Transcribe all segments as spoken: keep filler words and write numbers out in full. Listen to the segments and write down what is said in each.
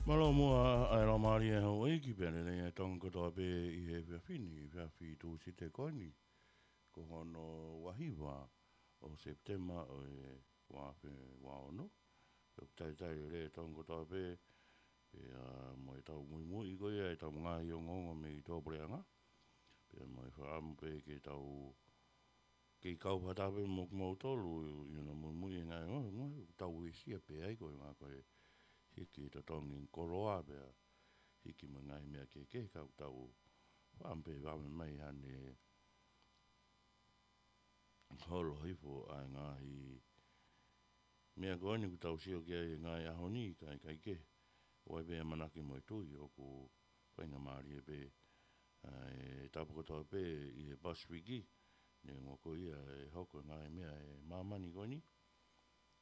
Mālō muʻa ʻa e laumālie ʻa houʻeiki pea lelei ʻa e Tonga kotoa pē ʻi he efiafi ni, efiafi Tūsite ko eni, ko hono ua hiva ʻo Sepitema ʻo e ua afe ua ono. Pea ʻoku talitali lelei ʻa e Tonga kotoa pē, pea mo ʻetau muimui ko ia ʻetau ngaahi ongoongo mei tuʻapuleʻanga. Pea mo e fakaʻamu pē ke tau kei kau fakataha pē mo kimoutolu ʻi hono muimui ʻi he ngaahi ongoongo, ʻoku tau uesia pē ai ko e ngaahi ko e hiki totongi koloa pea hiki mo e ngaahi meʻa kehekehe ka ʻoku tau fakaʻamu pē vave mai hane holo hifo ʻa e ngaahi meʻa ko eni ʻoku tau sio ki ai he ngaahi ʻaho ni, kae ʻikai ke ʻoua pē ʻamanaki mo e tui ʻoku faingamālie pē ʻa e tapu kotoa pē ʻi he Pasifiki, neongo ko ia ʻe hoko e ngaahi meʻa ʻi māmani ko eni.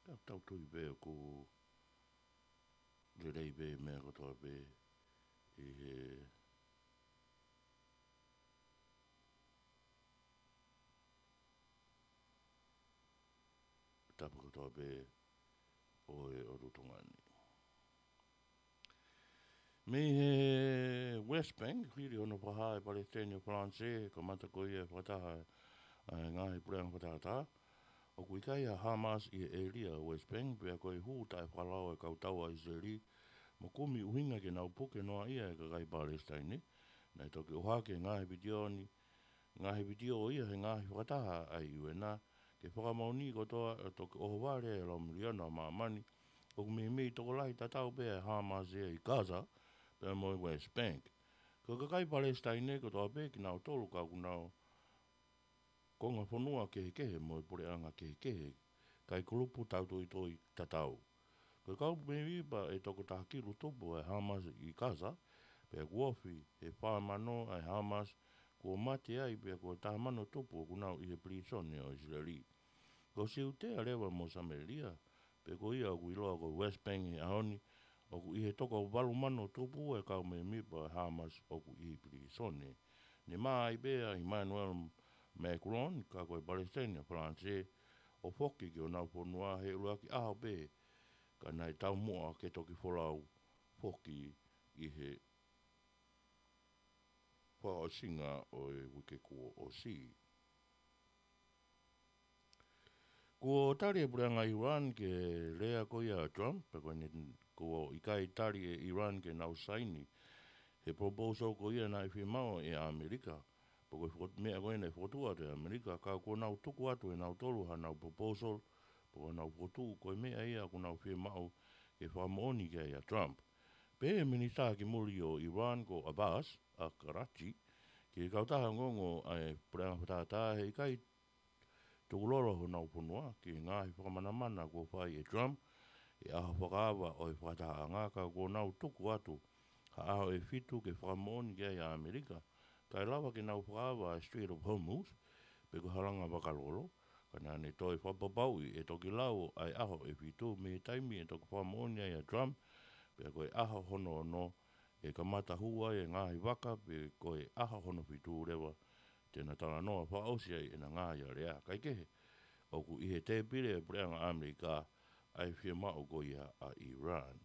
Ka tau tui pē ʻoku lelei pē meʻa kotoa pē ʻi he tapu kotoa pē ʻo e ʻOtu Tonga ni. Mei he West Bank, hili hono fakahā ʻe he Palesiteni ʻo Falanisē, kamata ko ia e fakataha ʻa e ngaahi puleʻanga fakatātā, ʻoku ʻikai ʻa Hamas ʻi he ʻēlia ʻo West Bank, pea ko e hū taʻefakalao ʻa e kau tau ʻa ʻIsileli mo kumi ʻuhinga ke nau puke noaʻia e kakai Palesitaine. Naʻe toki ʻohake ngaahi vitiō ni, ngaahi vitiō ia he ngaahi fakataha ʻa e U N ke fakamoʻoni kotoa ʻa e toki ʻohovale ʻa e lau miliona ʻo māmani ʻoku meimei tokolahi tatau pē ʻa e Hamas ia ʻi Gaza pea mo e West Bank. Ko e kakai Palesitaine kotoa pē kinautolu ka ʻoku nau konga fonua kehekehe mo e puleʻanga kehekehe, kae kulupu tautoitoi tatau. Ko e kau mēmipa ʻe toko taha kilu tupu ʻa e Hamas ʻi Gaza, pea kuo ofi he fā mano ʻa e Hamas kuo mate ai pea ko e taha mano tupu ʻoku nau ʻi he pilīsone ʻo ʻIsileli. Ko Siutea leva mo Samēlia, pe ko ia ʻoku ʻiloa ko West Bank he ʻaho ni, ʻoku ʻi he toko valu mano tupu e kau mēmipa ʻo e Hamas ʻoku ʻi he pilīsone. Ne mā ai pē ʻa ʻImanuela Makuloni, ka ko e Palesiteni ʻa Falanisē, ʻo foki ki honau fonua he ʻuluaki ʻaho pē, ka naʻe taumuʻa ke toki folau foki ʻi he fakaʻosinga ʻo e uike kuo ʻosi. Kuo tali ʻe he puleʻanga ʻIulan ki he lea ko ia ʻa Trump, pea ko eni kuo ʻikai tali ʻe ʻIulan ke nau saini he proposal ko ia naʻe fiemaʻu ʻe ʻAmelika. Pea ko e fokotuʻu meʻa ko ia naʻe fokotuʻu atu ʻe ʻAmelika, ka kuo nau tuku atu ʻe nautolu hanau proposal, pea ko ʻenau fokotuʻu ko e meʻa ia ʻoku nau fiemaʻu ke fakamoʻoni ki ai ʻa Trump. Pehē ʻe he Minisitā ki Muli ʻo ʻIulan ko Abbas Araghchi ki he kautaha ongoongo ʻa e puleʻanga fakatātā he ʻikai tukulolo honau fonua ki he ngaahi fakamanamana kuo fai ʻe Trump he ʻaho fakaava ʻo e fakatahaʻanga, ka kuo nau tuku atu ha ʻaho ʻe fitu ke fakamoʻoni ki ai ʻa ʻAmelika, kae lava ke nau fakaava ʻa e Strait of Hormuz, pe ko e halanga vakalolo, ka naʻa ne toe fakapapauʻi ʻe toki lau ʻa e ʻaho ʻe fitu mei he taimi ʻe toki fakamoʻoni ai ʻa Trump, pea ko e ʻaho hono ono ʻe kamata hū ai e ngaahi vaka, pe ko e ʻaho hono fitu leva te na talanoa fakaʻosi ai ʻena ngaahi alea. Kae kehe, ʻoku ʻi he tēpile ʻa e puleʻanga ʻAmelika ʻa e fiemaʻu ko ia ʻa ʻIulan.